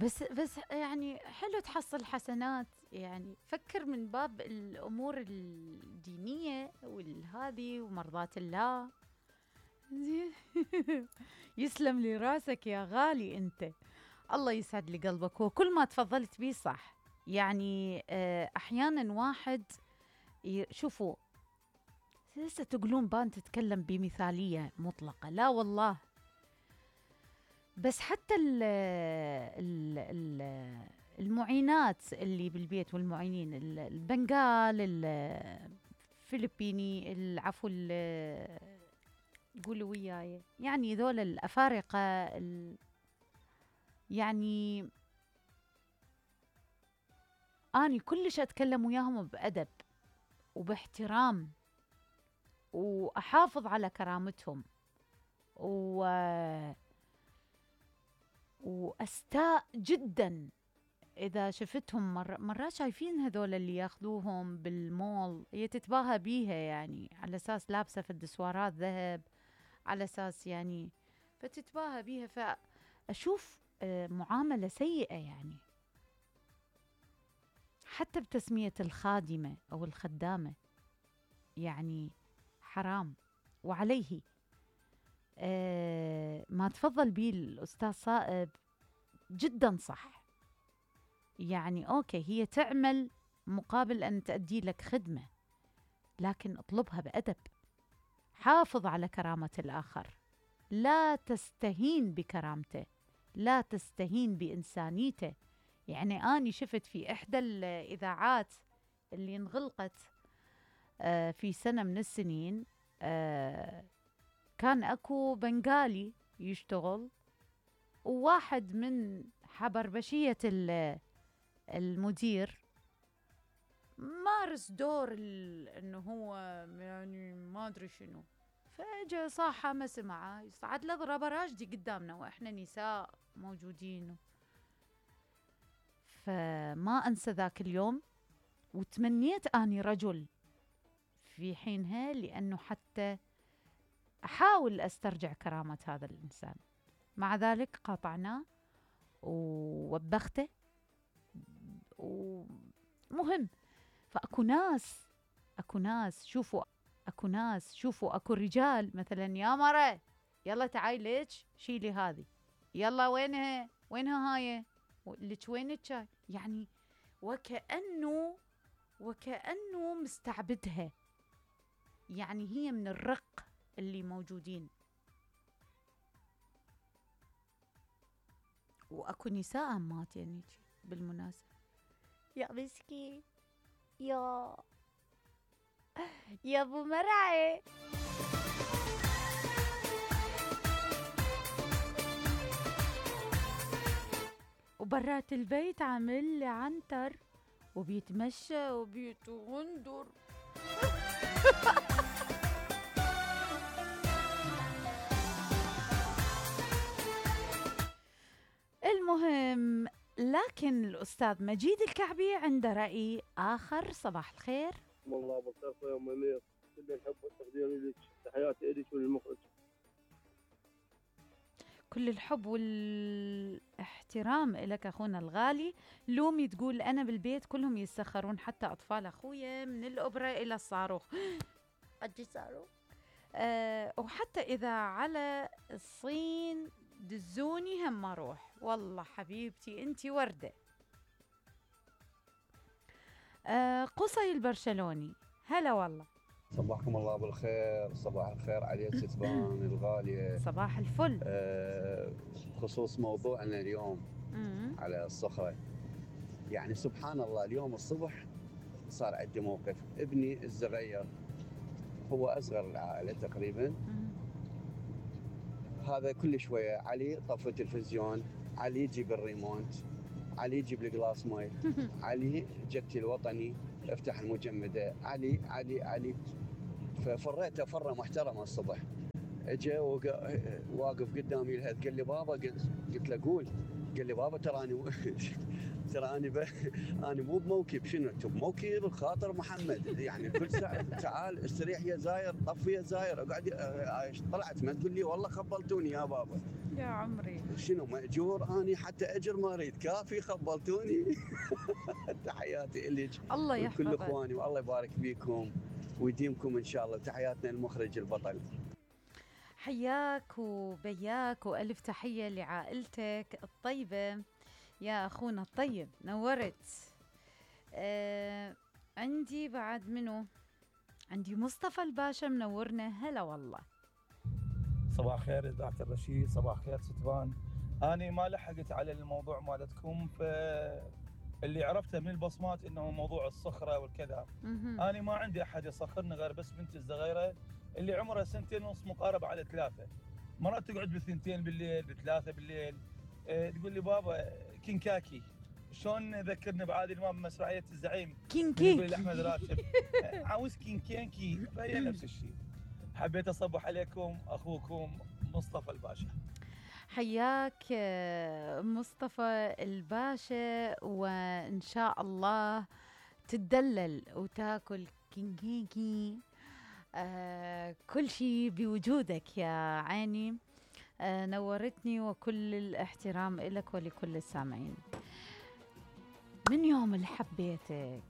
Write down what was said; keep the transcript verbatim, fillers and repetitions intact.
بس بس يعني حلو تحصل حسنات، يعني فكر من باب الأمور الدينية والهذي ومرضات الله. زين. يسلم لي راسك يا غالي أنت، الله يسعد لي قلبك. وكل ما تفضلت بيه صح، يعني آه، أحيانا واحد ي- شوفوا، لسه تقولون بان تتكلم بمثالية مطلقة، لا والله. بس حتى ال ال ال المعينات اللي بالبيت والمعينين، ال- البنغال، الفلبيني، العفو، ال- قولوا وياي، يعني ذول الأفارقة، ال- يعني أني كلش أتكلم وياهم بأدب وباحترام، وأحافظ على كرامتهم، و وأستاء جدا إذا شفتهم مر... مرات شايفين هذول اللي ياخذوهم بالمول، هي تتباهى بيها يعني على أساس لابسة في الدسوارات ذهب، على أساس يعني فتتباهى بيها، فأشوف آه، معاملة سيئة يعني، حتى بتسمية الخادمة أو الخدامة، يعني حرام. وعليه آه ما تفضل بيه الأستاذ صائب جدا صح. يعني أوكي، هي تعمل مقابل أن تأدي لك خدمة، لكن اطلبها بأدب، حافظ على كرامة الآخر، لا تستهين بكرامته، لا تستهين بإنسانيته. يعني أنا شفت في إحدى الإذاعات اللي انغلقت آه في سنة من السنين، آه كان أكو بنغالي يشتغل، وواحد من حبربشية المدير مارس دور انه هو يعني ما ادري شنو، فاجا صاحة ما سمعه يصعد له ضربة راجدي قدامنا واحنا نساء موجودين. فما انسى ذاك اليوم، وتمنيت اني رجل في حينها، لانه حتى احاول استرجع كرامة هذا الانسان. مع ذلك قاطعناه ووبخته. ومهم، فأكو ناس أكو ناس شوفوا أكو ناس شوفوا أكو رجال مثلا، يا مرة يلا تعاي ليش شيلي هذه، يلا وينها وينها هاي لك، وين الشاي، يعني وكأنه وكأنه مستعبدها، يعني هي من الرق اللي موجودين. وأكو نساء مات يعني بالمناسبة، يا مسكين، يا يا ابو مرعي. وبرات البيت عامل لي عنتر وبيتمشى وبيتغندر. المهم، لكن الأستاذ مجيد الكعبي عنده رأي آخر. صباح الخير. والله بالخير يا ام منير، كل الحب والتقدير لك، تحياتي لك وللمخرج. كل الحب والاحترام لك أخونا الغالي. لومي تقول أنا بالبيت كلهم يسخرون، حتى أطفال أخويا من الأوبرا إلى الصاروخ. أجي صاروخ. أه وحتى إذا على الصين دزوني هم أروح. والله حبيبتي أنتي وردة. أه قصي البرشلوني، هلا والله. صباحكم الله بالخير، صباح الخير عليك ستبان الغالية. صباح الفل. أه خصوص موضوعنا اليوم مم. على الصخرة، يعني سبحان الله اليوم الصبح صار عندي موقف. ابني الصغير هو أصغر العائلة تقريبا، مم. هذا كل شوية علي طفي التلفزيون، علي يجيب الريموت، علي يجيب الجلاس ماي، علي جتي الوطني افتح المجمدة، علي علي علي. ففريته فرة محترمة الصبح. اجى واقف قدامي الهد، قال لي بابا، قلت له قول. قال لي بابا تراني ترى انا ب... انا مو بموكب. شنو انت بموكب الخاطر محمد؟ يعني كل ساعه تعال استريح يا زاير، طفي يا زاير، اقعد. طلعت ما تقول لي والله خبلتوني يا بابا. يا عمري. شنو مأجور اني حتى اجر ما اريد، كافي خبلتوني. تحياتي الك الله ولكل يحفظك. اخواني، والله يبارك فيكم ويديمكم ان شاء الله. تحياتنا المخرج البطل. حياك وبياك والف تحيه لعائلتك الطيبه يا اخونا الطيب، نورت. آه عندي بعد منو؟ عندي مصطفى الباشا منورنا. هلا والله. صباح خير إذاعة الرشيد، صباح خير ستفان. أنا ما لحقت على الموضوع مالتكم، فاللي عرفته من البصمات إنه موضوع الصخرة والكذا. مهم. أنا ما عندي أحد يصخرني غير بس بنتي الصغيرة اللي عمرها سنتين ونص مقاربة على ثلاثة. مرات تقعد بالثنتين بالليل بثلاثة بالليل، إيه، تقول لي بابا كينكاكي. شلون ذكرني بعادل امام بمسرحيه الزعيم كينكي يقول احمد راشد عاوز كينكينكي، فهي نفس الشيء. حبيت اصبح عليكم، اخوكم مصطفى الباشا. حياك آه، مصطفى الباشا، وإن شاء الله تتدلل وتاكل كينكيكي. آه كل شيء بوجودك يا عيني. آه نورتني، وكل الاحترام إلك ولكل السامعين. من يوم اللي حبيتك